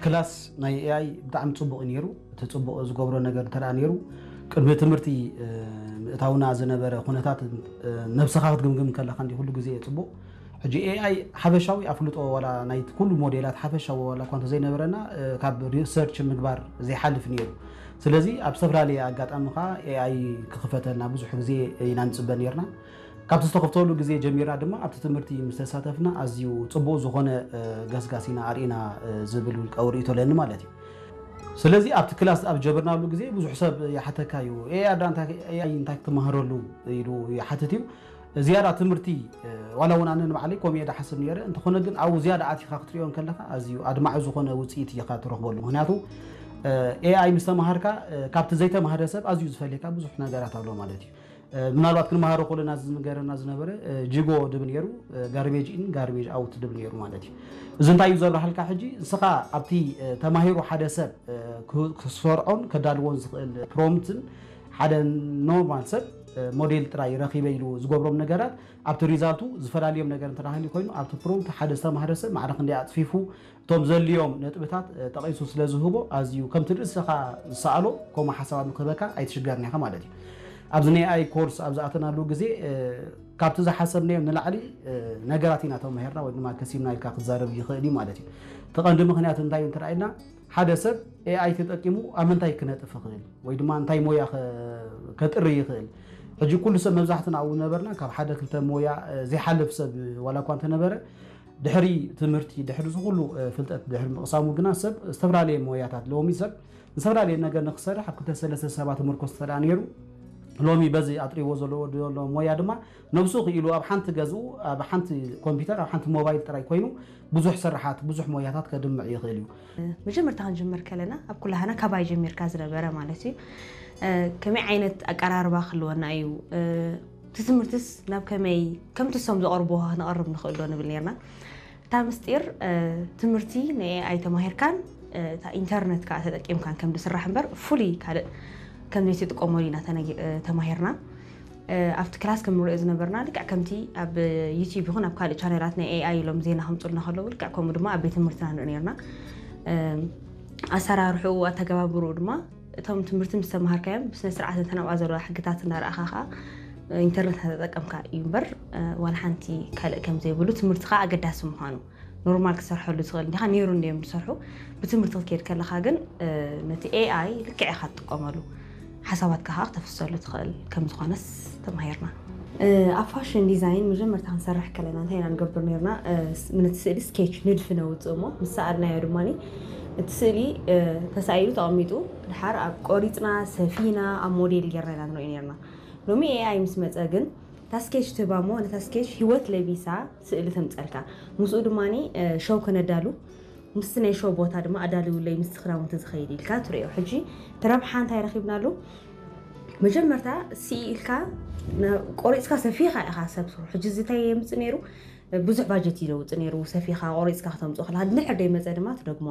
ክላስ ናይ ኤኣይ ብጣዕሚ ፅቡቕ እዩ ነይሩ። እቲ ፅቡቕ ዝገብሮ ነገር እንተ ደኣ ነይሩ፣ ቅድሚ ትምህርቲ ምእታውና ዝነበረ ኩነታት ነብስኻ ክትግምግም ከለኻ እንዲ ኩሉ ግዜ ፅቡቕ። ሕጂ ኤኣይ ሓፈሻዊ ኣፍልጦ ዋላ ናይ ኩሉ ሞዴላት ሓፈሻዊ ዋላ እኳ እንተዘይነበረና፣ ካብ ሪሰርች ምግባር ዘይሓልፍ ነይሩ። ስለዚ ኣብ ዝተፈላለየ ኣጋጣሚ ከዓ ኤኣይ ክኽፈተልና ብዙሕ ግዜ ኢና ንፅበ ነርና። ካብቲ ዝተኸፍተሉ ግዜ ጀሚርና ድማ ኣብቲ ትምህርቲ ምስ ተሳተፍና ኣዝዩ ፅቡቕ ዝኾነ ገስጋስ ኢና ኣርኢና ዝብል ውልቃዊ ርእይቶ ኣለኒ ማለት እዩ። ስለዚ ኣብቲ ክላስ ኣብ ጀበርናሉ ግዜ ብዙሕ ሰብ ይሓተካ እዩ፣ ኤኣይ እንታይ ክትመሃረሉ ኢሉ ይሓትት እዩ። ዝያዳ ትምህርቲ ዋላ እውን ኣነ ንባዕለይ ከምኡ እየ ዝሓስብ ነይረ። እንተኾነ ግን ኣብኡ ዝያዳ ኣቲኻ ክትሪኦ ከለኻ ኣዝዩ ኣድማዒ ዝኾነ ውፅኢት ኢኻ ትረኽበሉ። ምክንያቱ ኤኣይ ምስ ተማሃርካ ካብቲ ዘይተማሃረ ሰብ ኣዝዩ ዝፈልየካ ብዙሕ ነገራት ኣሎ ማለት እዩ። ምናልባት ክንመሃሮ ከለና ዝንገረና ዝነበረ ጂጎ ድብል ነይሩ፣ ጋርቤጅ ኢን ጋርቤጅ ኣውት ድብል ነይሩ ማለት እዩ። እዚ እንታይ እዩ ዘብርሃልካ? ሕጂ ንስኻ ኣብቲ ተማሂሩ ሓደ ሰብ ክሰርዖን ከዳልዎን ዝኽእል ፕሮምትን ሓደ ኖርማል ሰብ ሞዴል ጥራይ ረኺበ ኢሉ ዝገብሮም ነገራት ኣብቲ ሪዛልቱ ዝፈላለዮም ነገር እንተዳሃልዩ ኮይኑ ኣብቲ ፕሮምት ሓደ ዝተማህረ ሰብ ማዕረ ክንደይ ኣፅፊፉ እቶም ዘልዮም ነጥብታት ጠቒሱ ስለ ዝህቦ ኣዝዩ ከምቲ ርእስኻ ዝሰኣሎ ከምኡ ሓሳባት ንክህበካ ኣይትሽገርን ኢኻ ማለት እዩ። ኣብዚ ናይ ኤኣይ ኮርስ ኣብ ዝኣተናሉ ግዜ ካብቲ ዝሓሰብናዮ ንላዕሊ ነገራት ኢና ተማሂርና ወይ ድማ ከሲብና ኢልካ ክዛረብ ይኽእል እዩ ማለት እዩ። እቲ ቀንዲ ምክንያት እንታይ እዩ እንተ ኢልና ሓደ ሰብ ኤኣይ ተጠቂሙ ኣብ ምንታይ ክነጥፍ ይኽእል ወይ ድማ እንታይ ሞያ ከጥሪ ይኽእል? ሕጂ ኩሉ ሰብ መብዛሕትና ኣብኡ ነበርና ካብ ሓደ ክልተ ሞያ ዘይሓልፍ ሰብ ዋላ እኳ እንተነበረ ድሕሪ ትምህርቲ ድሕሪ ዝኩሉ ፍልጠት ድሕሪ ምቕሳሙ ግና ሰብ ዝተፈላለየ ሞያታት ሎሚ ሰብ ዝተፈላለየ ነገር ንክሰርሕ ኣብ ክልተ ሰለስተ ሰባት ምርኮስ ተዳ ነይሩ። ሎሚ በዚ ኣጥሪዎ ዘለዎ ዘሎ ሞያ ድማ ነብሱ ክኢሉ ኣብ ሓንቲ ገዝኡ ኣብ ሓንቲ ኮምፒውተር ኣብ ሓንቲ ሞባይል ጥራይ ኮይኑ ብዙሕ ስራሓት ብዙሕ ሞያታት ከድምዕ ይኽእል እዩ። መጀመርታ ክንጅምር ከለና ኣብ ኩላህና ካባይ ጀሚርካ ዝነበረ ማለት እዩ። ከመይ ዓይነት ኣቀራርባ ክህልወና እዩ፣ እቲ ትምህርትስ ናብ ከመይ ከምቲ ሶም ዝቐርብዎ ክንቐርብ ንኽእል ዶ ንብል ነርና። እታ ምስጢር ትምህርቲ ናይ ኤኣይ ተማሂርካን እታ ኢንተርነት ከዓ ተጠቂምካን ከም ዝስራሕ እምበር ፍሉይ ካልእ ከም ዘይትጥቀመሉ ኢና ተማሂርና። ኣብቲ ክላስ ከም ንሪኦ ዝነበርና ልክዕ ከምቲ ኣብ ዩቲዩብ ይኹን ኣብ ካልእ ቻነላት ናይ ኤኣይ ኢሎም ዜና ከምፁልና ከለዉ ልክዕ ከምኡ ድማ ኣብ ቤት ትምህርትና ንርኢ ነርና። ኣሰራርሕኡ ኣተገባብርኡ ድማ እቶም ትምህርቲ ምስ ተምሃርካዮም ብስነ ስርዓት እተን ኣብኣ ዘለዋ ሕግታት እንዳረኣኻ ከዓ ኢንተርነት እናተጠቀምካ እዩ እምበር ዋላ ሓንቲ ካልእ ከም ዘይብሉ ትምህርቲ ከዓ ኣገዳሲ ምዃኑ ኖርማል ክትሰርሐሉ ትኽእል እንዲኻ ነይሩ እንዲዮም ዝሰርሑ ብትምህርቲ ክትከይድ ከለኻ ግን ነቲ ኤኣይ ልክዕ ኢኻ ትጥቀመሉ ሓሳባትካ ከዓ ክተፍሰሉ ትኽእል ከም ዝኾነስ ተማሂርና። ኣብ ፋሽን ዲዛይን መጀመርታ ክንሰርሕ ከለና እንታይ ኢና ንገብር ነርና? ነቲ ስእሊ ስኬች ንድፊ ነውፅእ እሞ ምስ ሰኣልናዮ ድማ እቲ ስእሊ ተሳኢሉ ተቐሚጡ ድሓር ኣብ ቆሪፅና ሰፊና ኣብ ሞዴል ጌርና ኢና ንሪኦ ነርና። ሎሚ ኤኣይ ምስ መፀ ግን እታ ስኬች ትህባ እሞ ነታ ስኬች ሂወት ለቢሳ ስእሊ ተምፀልካ ምስኡ ድማ ሸው ከነዳሉ ምስቲ ናይ ሸው ቦታ ድማ ኣዳልውለይ ምስቲ ክዳውንቲ ዝኸይድ ኢልካ ትሪኦ። ሕጂ እቲ ረብሓ እንታይ ረኺብናሉ? መጀመርታ ስኢልካ ቆሪፅካ ሰፊኻ ኢኻ ሰብ ስርሑ። ሕጂ እዚ እንታይ የምፅእ ነይሩ? ብዙሕ ባጀት እዩ ዘውፅእ ነይሩ። ሰፊኻ ቆሪፅካ ክተምፅኦ ከለካ ድሕር ደይመፀ ድማ ትደግሞ